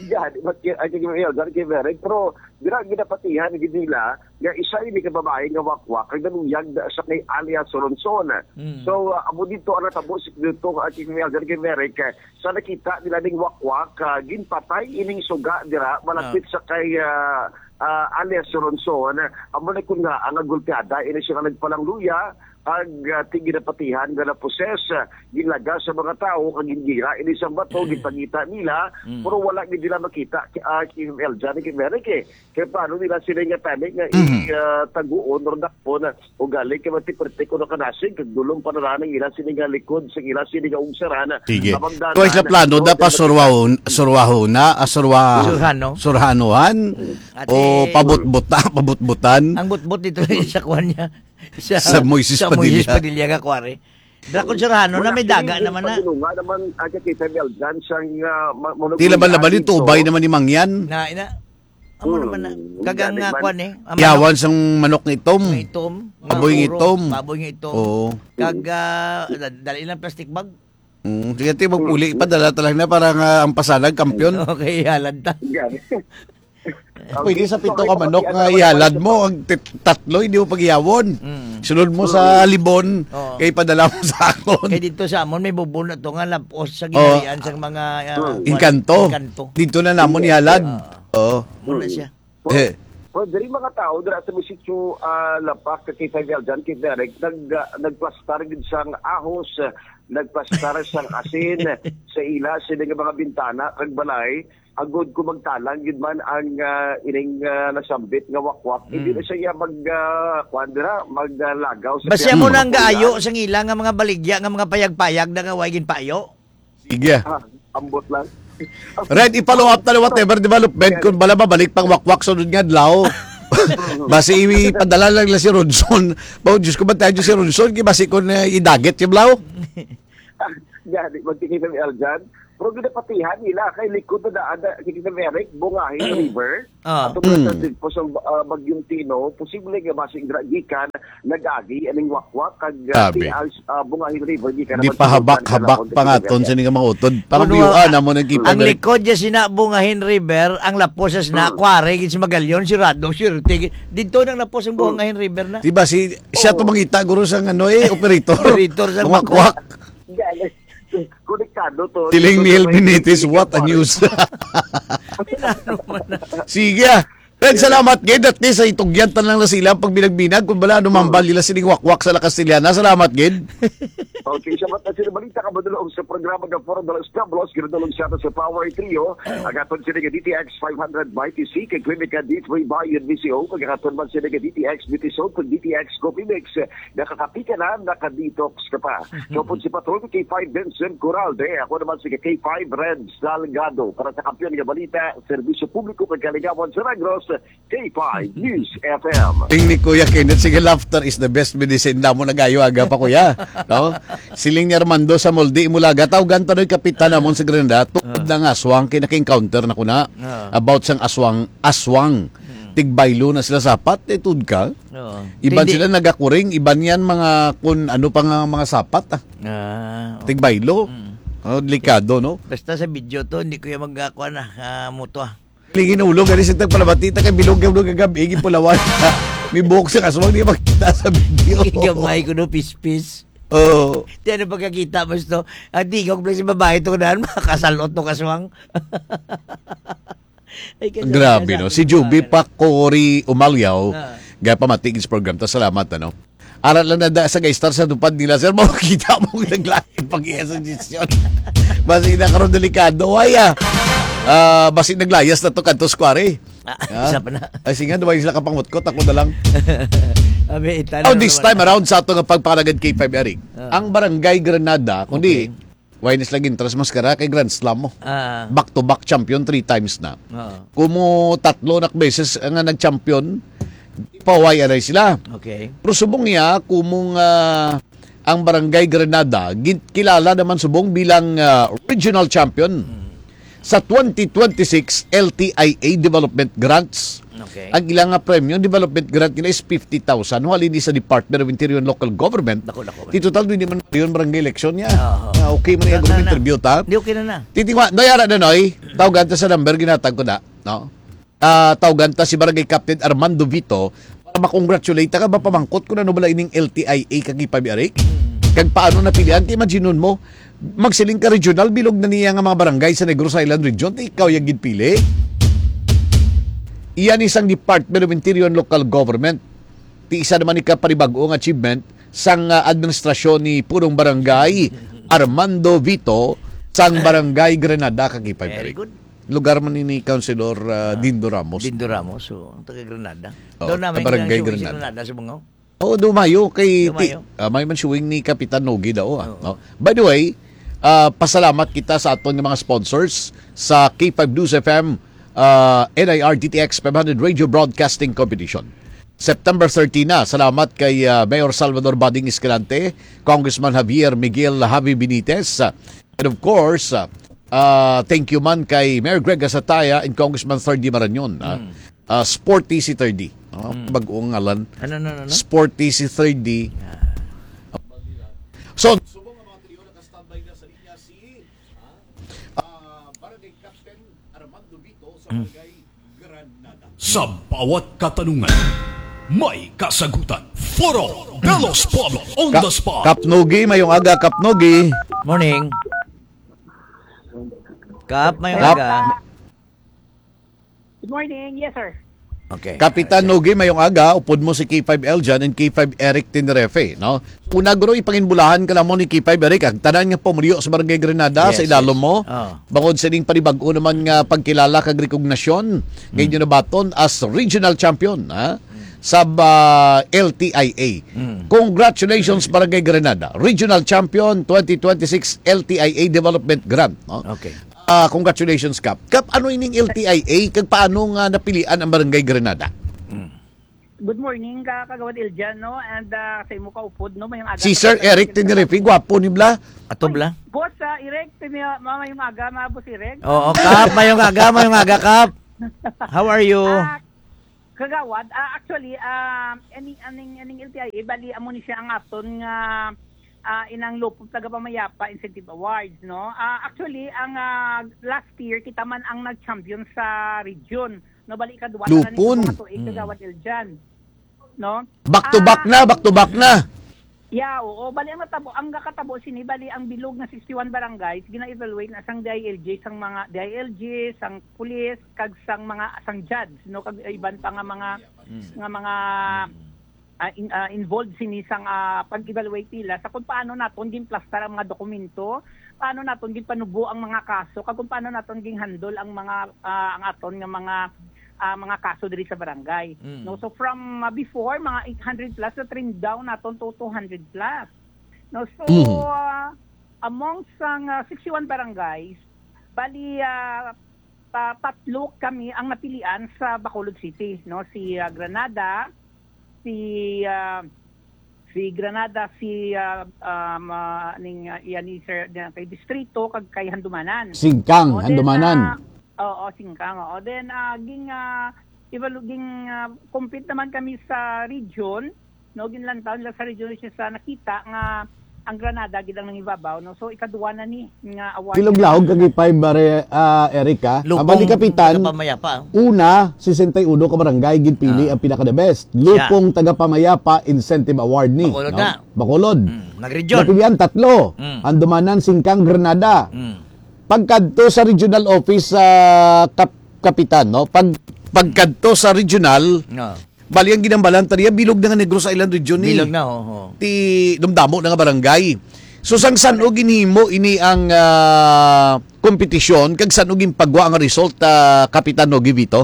Yan, but y-, I think, yun, that give Eric. Pero, dira, ginapatihan, gid nila, nga isa ini ka babae nga wakwak, ang naluyag na sa kay alias Ronson. Mm. So, ah, amo dito, ang natabo si dito, I think, yun, that give Eric, eh, sa nakita nila ning wakwak, ah, ginpatay ining suga, dira, malapit Ah. sa kay, ah, ah, alias Ronson, amo na kun nga ang gulpiyada ini siya nga nagpalangluya, ag, ah, ti ginapatihan nga naposes, ah, ginlaga sa mga tawo kag gingira ini sa bato, Mm. gipangita nila, Mm. pero wala gid nila makita, ah, Kim Eljan, Kim Eric, eh. Kay paano nila sila nga tani nga Mhm. i-, ah, taguon or dakpon, ah, ugali kay mati-perte kuno kanasig, kag dulom pa na lang ang ila sini nga likod, sa ila sini nga ugsaran. Sige. Abang Twice na danan, plano, no, da pa kay mati- surwahon, surwahon na, ah, surwa-, Surhano. surhanohan, Ate, o pabutbuta, pabutbutan. Ang butbot dito sa kuwan niya. Sa, Sa Moises sa Moises Padilla. Padilla nga kuwari. Dakon surhano na, Wala may sini, daga yung naman na. Pagulungan naman, ah, kay Samuel Jan, sang, ah, ma-, mono-, Tila ba ah, laban dito. Ito, ubay naman ni Mangyan? Na, ina, amo Hmm. naman na. Kagang Galing nga man. kuwan eh. Ang Yawan manok sang manok nga itom. nga itom, nga Baboy nga uro, itom. baboy nga itom. Oo. Kag, ah, da-, dali lang plastic bag. Mm, sige, ti, magpuli pa, dala talaga na para nga ang Pasalag, kampiyon. Okay, halad ta. Yan. Pwede sa pito ka manok nga ihalad mo, ang tit-, tatlo, hindi mo paghiyawon. Mm. Sunod mo sa libon, Oo. kay padala mo sa akon. Kay dito sa amon, may bubon na to nga lapos sa Oo. ginharian sa mga, ah, Mm. Engkanto. engkanto. Dito na namon Yes, ihalad. ah. Oo. Muna siya. Well, Eh. well, diri mga tao, dira sa may sitio, ah, Lapak, kay Fidel John, kay Derek, nag-, ah, nagplastar gid sang ahos, ah, nagplastar sang asin sa ila, sila nga mga bintana, kag balay, agod ko magtalang gid man ang, ah, ining, ah, nasambit nga wakwak. Hindi Mm. na siya mag, ah, kuwan dira, mag, ah, lagaw sa Basta mo piyano. nang gaayo sang ila nga mga baligya, nga mga payag-payag na nga way ginpayo. Sige. Ah, ambot lang. Red, i-follow up na lang whatever development kung bala mabalik pang wakwak sunod nga adlaw. Basi ipadala lang nila si Ronson. Ba, Diyos ko, bantayan niyo si Ronson, kay basi kung, eh, idagit yung blaw. Gani, magtikita ni Aljan. Pero ginapatihan nila kay likod na daan na, kay Eric, Bungahin River. Ah. Ato Mm. sa dagpo sa, ah, Bagyong Tino, posible nga basig dira gikan nag-agi aning wakwak kag, ah, Grabe. ti-, ah, Bungahin River gikan Di naman pa sa habak-habak Bulacan, pa nga Calabaw, ton sini nga mga utod. Parang Kuno, biyoan ah, na mo nang ang kipa-, likod niya sina Bungahin River, ang lapos sa sina, Hmm. kuwari, gid si Magallon, si Rado, si Ortega. Dito nang lapos ang Hmm. Bungahin River na. Di ba si, siya Oo. tumangita, guro, sa ano, eh, operator. Operator sa Mga wakwak. wakwak. Galing. Konektado to. Siling ni Elvin Nitis, what a news. Ano man na? Sige, ah. Red, salamat, gid. At least, ay tugyan tan lang na sila ang pagbinag-binag. Kung bala, ano, mambal nila sining wakwak sa La Castellana. Salamat, gid. Okay, sa mga sila balita ka madulong sa programa ng Forum de los Pueblos, ginadulong sa ato sa Power Trio, ang aton sila nga D T X five hundred Mighty C, kay Clinica D three Bayan V C O, pagkakaton man sila nga D T X Beauty Soap, kag D T X Coffee Mix. Nakakapi ka na, naka-detox ka pa. Siya po si Patron K five Vincent Coralde. Ako naman si K five Red Salgado. Para sa Kampiyon nga Balita, Serbisyo Publiko kag Kaligawan sa Negros, K five News F M. Ting ni Kuya Kenneth, sige, laughter is the best medicine. Damo nagayo aga pa, Kuya. No? Siling ni Armando sa Moldi, Imulaga, tawgan ta noy kapitan namon sa Granada. Tungod Ah. lang aswang, kay naka-encounter na ko na. Ah. About sang aswang, aswang. Hmm. Tigbaylo na sila sapat, eh, tuod ka. Oo. Iban Hindi. sila nagakuring, iban yan mga kun ano pa nga mga sapat, ah. Ah, oo. Tigbaylo. Mm. Oh, delikado, no? Basta sa video to, hindi ko yung mag-, ah, kuwan, ah, ah, muto, ah. Lingin ulo, gani sa tagpalabati, ta kay bilog yung gagabi, gipulawan. May buhok sa kaswang, di makita sa video. Gamay ko, no, pispis. Oo. Di ano pagkakita, mas to, ang tingog lang sa babae to, kunahan, makasalot to kaswang. Ay, kasal-, Grabe, no? kasal-, Si Juby kasal-, Pakori Umalyaw, Ah. gapamatigid sa program. Ta, salamat, ano? Aral lang na da sa Gaistar sa tupad nila, sir. Makikita mo ang naglain pag iya sa desisyon. Basi na karon delikado. Ay, ah. Ah, basi naglayas na to, kantos kwari. Ah, Ha? isa pa na. Ay, sige, duway sila kapangutkot. Ako na lang. Abi, itan-, Oh, ano this naman time na? around sa ato nga pagpanagad K five Eric. Ah. Ang Barangay Granada, kundi Okay. Why ni sila gintras maskara kay Grand Slam mo? Ah. Back to back champion three times na. Oo. Kumo tatlo na beses nga nag-champion, pahuway anay sila. Okay. Pero subong niya, kumong, ah, ang Barangay Granada, gin-, kilala naman subong bilang, ah, regional champion Hmm. sa twenty twenty-six L T I A Development Grants. Okay. Ang ilang nga premyo, development grant nila is fifty thousand. Halin ni sa Department of Interior and Local Government. Dako, dako, man. Di total, hindi man yun barangay election niya. Oo. Ah, okay man Na, yung na, na. interview, ta? Di okay na na. Titingwa, Noy, ara na, Noy. Tawgan ta sa number, ginatag ko na. No? Ah, tawgan ta si Barangay Captain Armando Vito para ma-congratulate ka, mapamangkot kung ano bala ining L T I A kag ipamiarik. Hmm. Kag paano napilian? Kay imagine mo, magsiling ka regional, bilog na niya nga mga barangay sa Negros Island Region, ti ikaw yung ginpili. Yan isang Department of Interior and Local Government. Ti isa naman ni ka panibag-o nga achievement sang, ah, administrasyon ni Punong Barangay Armando Vito sang Barangay Granada, ka K five Very Eric. Good. Lugar man ni, ni Councilor, ah, Ah, Dindo Ramos. Dindo Ramos, so, ang taga Granada. Oh, Doon namin taga Barangay yung Granada. Granada sa Bungaw. Oo, dumayo kay Dumayo. ti-, ah, may man showing ni Kapitan Nogi daw, ah, Oo. no? By the way, ah, pasalamat kita sa aton nga mga sponsors sa K five News F M, ah, N I R D T X five hundred Radio Broadcasting Competition. September thirteen na. Salamat kay, ah, Mayor Salvador Bading Escalante, Congressman Javier Miguel Javi Benitez, ah, and of course, ah, ah, thank you man kay Mayor Greg Asataya and Congressman Thirdy Marañon, ah. Mm. Ah, Sporty si Thirdy. Oh, Mm. bag-ong ngalan. Ano, ano, ano, ano? Sporty si Thirdy. Ah. So, subong ang mga trio, naka-standby na sa linya si, ah, ah, Barangay Captain Armando Vito sa Hmm. Barangay Granada. Sa bawat katanungan, may kasagutan. Foro de los Pueblos on Ka-, the spot. Kap Nogi, mayong aga, Kap Nogi. Morning. Kap, mayong Kap. aga. Good morning. Yes, sir. Okay. Kapitan Nogi, mayong aga. Upod mo si K five Eljan and K five Eric Tenerife, no? Una, guro, ipanginbulahan ka lang mo ni K five Eric, ang tanan nga pumuluyo sa Barangay Granada, Yes, sa ilalom yes. mo. Oh. Bangod sa ining panibag-o naman nga pagkilala kag rekognasyon, nga Mm. inyo nabaton as regional champion, ha? Mm. Sa, ah, L T I A. Mm. Congratulations, Barangay Granada. Regional champion twenty twenty-six L T I A Development Grant, no? Okay. Ah, congratulations, Kap. Kap, ano ining L T I A kag paano nga napilian ang Barangay Granada? Mm. Good morning, ka-, Kagawad Eljan, no? And, ah, sa imo kaupod, no? Mayong aga Si sa Sir mga Eric taga-, Tenerife, gwapo ni bla. Ato Ay, bla? Boss, ah, Eric, tini-, ma-, mayong aga, mga Boss Eric. Oo, Kap, mayong aga, mayong aga, Kap. How are you? Ah, Kagawad, ah, actually, ah, aning, aning, aning L T I A, bali, amo ni siya ang aton nga, ah, inang Lupong Tagapamayapa Incentive Awards, no? Ah, actually, ang, ah, last year, kita man ang nag-champion sa region, no? Bali, ikaduwa na ni Lupon. Sa mga tuig, Mm. Kagawad Eljan, no? Back to back Ah, na, back to back na. Yeah, oo. Bali, ang natabo, ang nakatabo sini, bali, ang bilog nga sixty-one barangays, gina-evaluate na sang D I L G, sang mga D I L G, sang pulis, kag sang mga, sang judge, no, kag iban pa nga mga, Mm. nga mga, Mm. ah, in-, ah, involved sini sang, ah, pag-evaluate nila sa kung paano naton ginplastar ang mga dokumento, paano naton ginpanubo ang mga kaso, kag kung paano naton gin-handle ang mga, ah, ang aton nga mga, ah, mga kaso diri sa barangay. Mm. No, so from, ah, before, mga eight hundred plus, na-trim down naton to two hundred plus. No, so, Mm. ah, among sang, ah, sixty-one barangays, bali, ah, ta-, tatlo kami ang napilian sa Bacolod City, no? Si, ah, Granada, si, ah, si Granada, si, ah, um, ah, ning, ah, iya ni Sir, na kay Distrito, kag kay Handumanan. Singkang, O, then, Handumanan. ah, oo, Singkang, oo. Then, ah, ging, ah, evalu-, ging, ah, compete naman kami sa region, no? Ginlantaw nila sa region siya sa nakita nga ang Granada gid ang nangibabaw, no? So, ikaduwa na ni nga award. Kilog-lahog kag ipay, bare, ah, Eric, ah. Lupong Ang bali, Kapitan, taga pamayapa. Una, sesenta y uno ka barangay, ginpili Ah. ang pinaka-the best. Siya. Lupong Tagapamayapa Incentive Award ni, Bacolod no? na. Bacolod. Mm, nag-region. Napilian, tatlo. Mm. Handumanan, Singkang, Granada. Mm. Pagkadto sa regional office sa Kap-, Kapitan, no? Pag, pagkadto sa regional, No. Bali, ang ginambalan ta niya, bilog na nga Negros Island region ni. Bilog na, ho, ho. Ti dumdamo na nga barangay. So, sang san-o ginhimo ini ang, ah, kompetisyon, kag san-o ginpagwa ang result, ah, Kapitan Nogi Vito?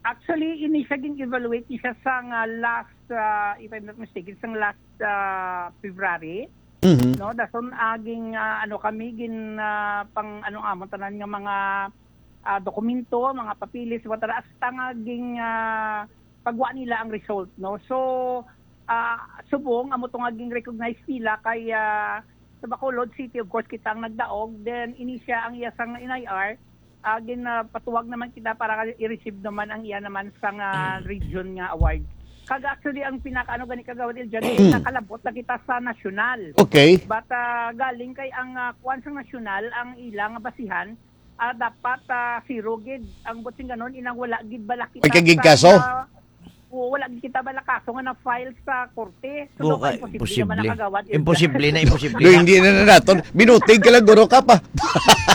Actually, ini siya gin-evaluate ni siya sa nga last, ah, if I'm not mistaken, sa last, ah, February. Mhm. No, dason, ah, ging, ah, ano kami, gin, ah, pang, ano, amon tanan nga mga, ah, dokumento, mga papeles, whatever, hasta nga ging, ah, pagwa nila ang result, no? So, ah, subong, amo to nga ging-recognize nila kay, ah, sa Bacolod City, of course, kita ang nagdaog. Then, ini siya ang iya sang N I R, ah, gin, ah, patuwag naman kita para i-receive naman ang iya naman sa nga region nga award. Kag actually, ang pinaka-, ano gani, Kagawad Eljan, nakalabot na kita sa nasyonal. Okay. But, ah, galing kay ang, ah, kuwan sang nasyonal, ang ilang basihan, ah, dapat, ah, zero gid ang buot sing ganon, inang wala gid bala kita Ay, kagig sa, kaso? ah, Oo, wala gid kita bala kaso nga na-file sa korte. So, Oo, daw ka, imposible imposible. naman nakagawad, Eljan. Imposible na, imposible Do, na. hindi na na naton. Binutig ka lang, guro ka pa.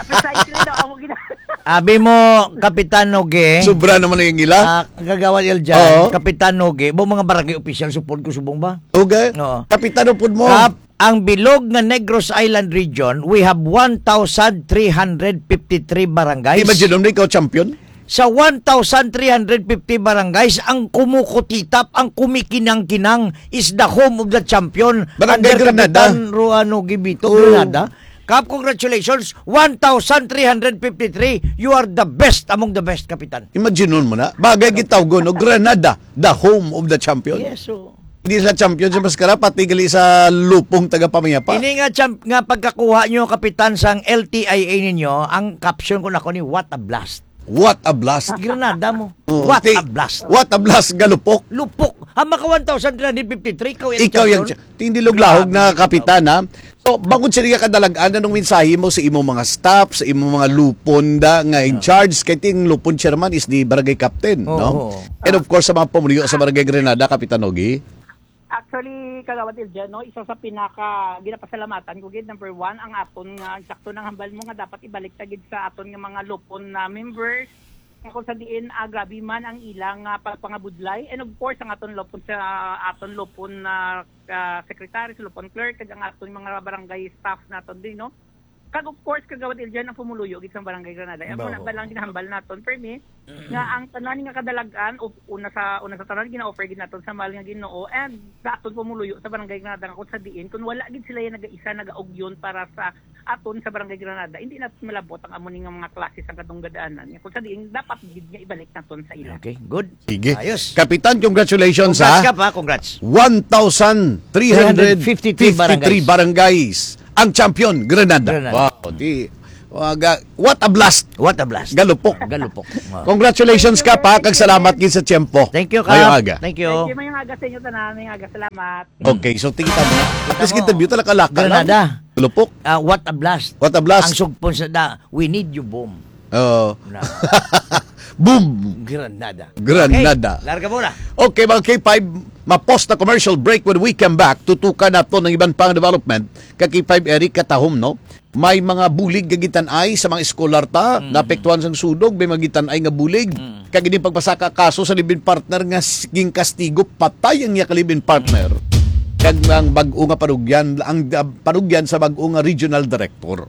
Precisely daw, amo gina-, Abi mo, Kapitan Noge. Sobra naman na yung ila. Ah, Kagawad Eljan, Oo. Kapitan Noge, ba mga barangay official support ko subong ba? Okay. Oo. Kapitan, upod mo. Kap, ang bilog nga Negros Island Region, we have one thousand three hundred fifty-three barangays. Imagine mo, ikaw champion? Sa one thousand three hundred fifty barangays, ang kumukutitap, ang kumikinang-kinang is the home of the champion Barangay under Granada. Kapitan Ruano Gibito, Oh. Granada. Kap, congratulations, one thousand three hundred fifty-three. You are the best among the best, Kapitan. Imagine mo na. Bagay gitawgon, no? Granada, the home of the champion. Yes, so Hindi sa champion sa maskara, pati gali sa lupong tagapamayapa. Ini nga champ-, nga pagkakuha nyo, Kapitan, sang L T I A ninyo, ang caption ko na ko ni, "What a blast." What a blast. Granada mo. Oo, What ti-, a blast. What a blast, galupok. Lupok. Ang maka one thousand three hundred fifty-three, ikaw yung Ikaw yung champion. Cha-, hindi luglahog Grabe, na ikaw. Kapitan, ha? So, bangod sa iya kadalagan, anong mensahe mo sa imong mga staff, sa imong mga lupon da nga in Ah. charge? Kay ting lupon chairman is the barangay captain, Oo, no? oo. And of course, sa mga pumuluyo sa Barangay Granada, Kapitan Ogie. Actually, Kagawad Eljan, no, isa sa pinaka ginapasalamatan ko gid, number one, ang aton nga, sakto nang hambal mo nga dapat ibalik ta gid sa aton nga mga lupon na members. Nga kung sa diin, ah, grabe man ang ilang, ah, pagpangabudlay. And of course, ang aton lupon sa aton lupon na, ah, secretary, sa lupon clerk, kag ang aton mga barangay staff naton din, no? Kag of course, Kagawad Eljan, ang pumuluyo gid sa Barangay Granada. Amo na Baho. ba lang ginahambal naton, permi, nga ang tanan nga kadalag-an, o una sa, una sa tanan, gina-offer gid naton sa mahal nga Ginoo, and sa aton pumuluyo sa Barangay Granada, nga kung sa diin, kung wala gid sila yung nag-isa, nag-augyon para sa aton sa Barangay Granada, hindi naton malabot ang amo ni nga mga klase sa katong gadaanan. Kung sa diin, dapat gid nga ibalik naton sa ila. Okay, good. Sige. Ayos. Kapitan, congratulations, Congrats ha? ka pa, congrats. One thousand three hundred fifty-three barangays. Ang champion, Granada. Granada. Wow, di, waga-, what a blast. What a blast. Galupok. Galupok. Wow. Congratulations, Kap, ha, kag salamat gid sa tiyempo. Thank you, Kap. Mayong aga. Thank you. Thank you, mayong aga sa inyo tanan, mayong aga. Salamat. Okay, so tingnan mo. At least Kita mo. interview talaga laka lang. Granada. Galupok. Ah, what a blast. What a blast. Ang sugpon sa da, "We need you, boom." Oo. Na. Boom! Granada. Granada. Okay, larga mo na. Okay, mga K five, ma-pause na commercial break. When we come back, tutukan nato ng iban pang development. Ka K five Eric, katahom, no? May mga bulig nga gitan-ay sa mga eskolar ta, Mm. naapektuhan sang sunog, may mga gitan-ay nga bulig. Mm. Kag ining pagpasaka kaso sa live-in partner nga s-, ginkastigo, patay ang iya ka live-in partner. Kag ang bag-o nga parugyan, ang, ah, parugyan sa bag-o nga regional director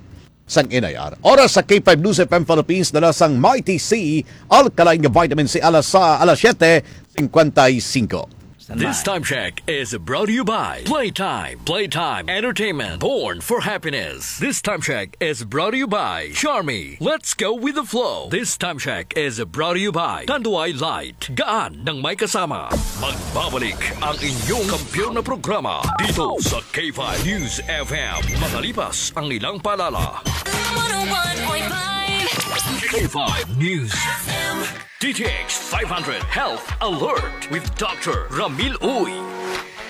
sang N I R. Oras sa K five News F M Philippines, dala sang Mighty C, alkaline nga vitamin C, alas sa, alas siyete cincuenta y cinco. Standby. This time check is brought to you by Playtime. Playtime Entertainment, born for happiness. This time check is brought to you by Charmy. Let's go with the flow. This time check is brought to you by Tanduay Light. Gaan ng may kasama. Magbabalik ang inyong kampiyon na programa dito sa K five News F M. Makalipas ang ilang paalala. One oh one point five. K five News F M. D T X five hundred Health Alert with Doctor Ramil Uy.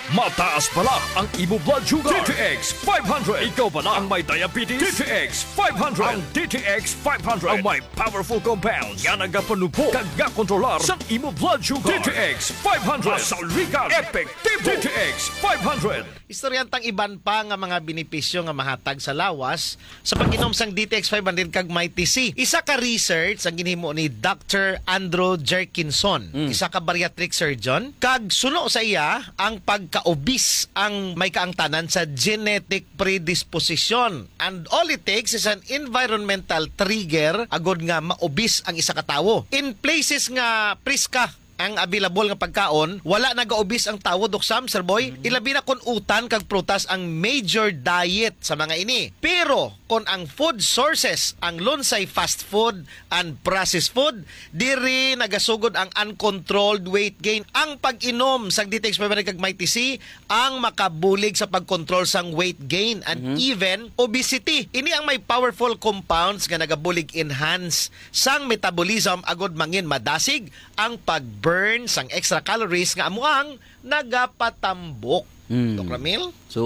Mataas bala ang imo blood sugar. D T X five hundred. Ikaw bala ang may diabetes? D T X five hundred. Ang D T X five hundred ang may powerful compounds nga nagapanubo kag nga kontrolar sa imo blood sugar. D T X five hundred. Masaligan. Epektibo. D T X five hundred. Istoryahan tang iban pa nga mga benepisyo nga mahatag sa lawas sa pag-inom sang D T X five hundred kag Mighty C. Isa ka research ang ginhimo ni Doctor Andrew Jerkinson, Mm. isa ka bariatric surgeon, kag suno sa iya ang pagka-obese ang may kaangtanan sa genetic predisposition. And all it takes is an environmental trigger agod nga ma-obese ang isa ka tawo. In places nga priska ang available nga pagkaon, wala nagaubis ang tawo, Doc Sam, Sir Boy. Mm. Ilabi na kun utan kag prutas ang major diet sa mga ini. Pero kun ang food sources, ang lunsay fast food and processed food, diri nagasugod ang uncontrolled weight gain. Ang pag-inom sang D T X five hundred kag Mighty C ang makabulig sa pagkontrol sang weight gain and Mhm. even obesity. Ini ang may powerful compounds nga nagabulig enhance sang metabolism agud mangin madasig ang pag-burn sang extra calories nga amo ang nagapatambok. Hmm. Doc Ramil? So,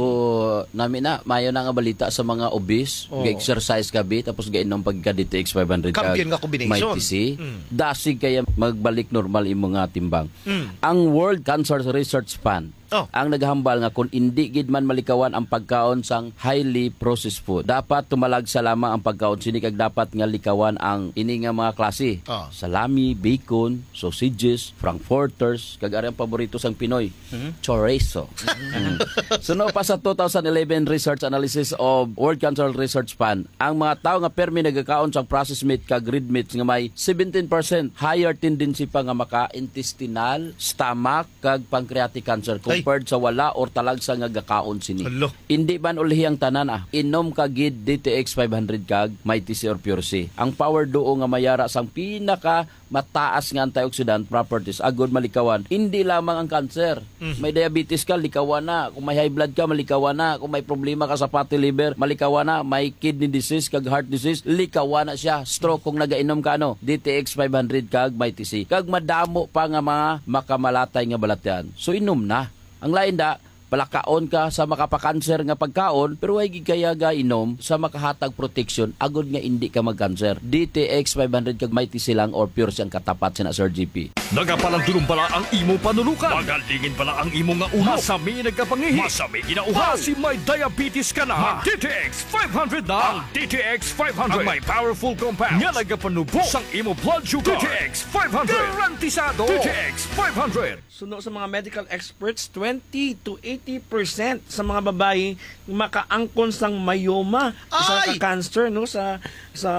nami na, mayo na nga balita sa mga obese, Oo. ga-exercise gabi, tapos gainom pagka D T X five hundred kag Champion nga combination. Mighty C. Mm. Dasig kaya magbalik normal imo nga timbang. Mm. Ang World Cancer Research Fund, Oh. Ang naghambal nga kung indi gid man malikawan ang pagkaon sang highly processed food, dapat tumalagsa lamang ang pagkaon sini kag dapat nga likawan ang ini nga mga klase. Oh. Salami, bacon, sausages, frankfurters, kag ari ang paborito sang Pinoy, Mhm. chorizo. Mm. Suno pa sa two thousand eleven research analysis of World Cancer Research Fund, ang mga tawo nga permi nagakaon sang processed meat kag red meats nga may seventeen percent higher tendency pa nga maka-intestinal, stomach, kag pancreatic cancer Ay. compared sa wala or talagsa nga gakaon sini. Hala. Indi man ulhi ang tanan, ah. Inom ka gid D T X five hundred kag Mighty C or Pure C. Ang power duo nga mayara sang pinaka mataas nga antioxidant properties agud malikawan indi lamang ang cancer. Mhm. May diabetes ka, likawan na. Kung may high blood ka, malikawan na. Kung may problema ka sa fatty liver, malikawan na. May kidney disease kag heart disease, likawan na siya. Stroke kung nagainom ka, ano, D T X five hundred kag Mighty C. Kag madamo pa nga mga makamalatay nga balatian. So, inom na. Ang lain da, palakaon ka sa makapakanser nga pagkaon, pero way gid kaya ga inom sa makahatag proteksyon agud nga indi ka magkanser. D T X five hundred kag Mighty C lang or Pure C ang katapat sina Sir G P. Nagapalandulong bala ang imo panulukan? Magalingin bala ang imo nga ulo? Masami nagkapangihi? Masami ginauhaw? Basi may diabetes ka na? Mag D T X five hundred na. Ang D T X five hundred. Ang may powerful compound nga nagapanubo sang imo blood sugar. D T X five hundred. Garantisado. D T X five hundred. Suno sa mga medical experts, twenty to eighty percent sa mga babayi makaangkon sang myoma, isa Ay! ka cancer, no, sa, sa,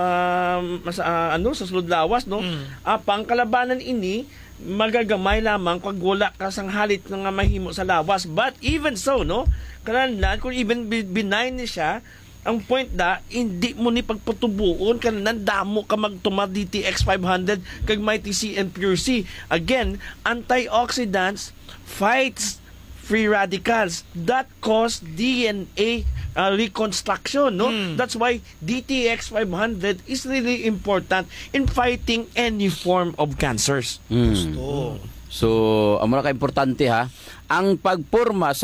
sa, ah, ano, sa sulod lawas, no. Mm. Ah, pangkalabanan ini, magagamay lamang kag wala ka sang halit nga mahimo sa lawas. But even so, no, kanang kung even bi-, benign ni siya, ang point da, hindi mo ni pagpatubuon, kanang damo ka magtumar D T X five hundred kag Mighty C and Pure C. Again, antioxidants fights free radicals that cause D N A, uh, reconstruction, no? Mm. That's why D T X five hundred is really important in fighting any form of cancers. Mm. Gusto. So, amo na ka importante, ha. Ang pagporma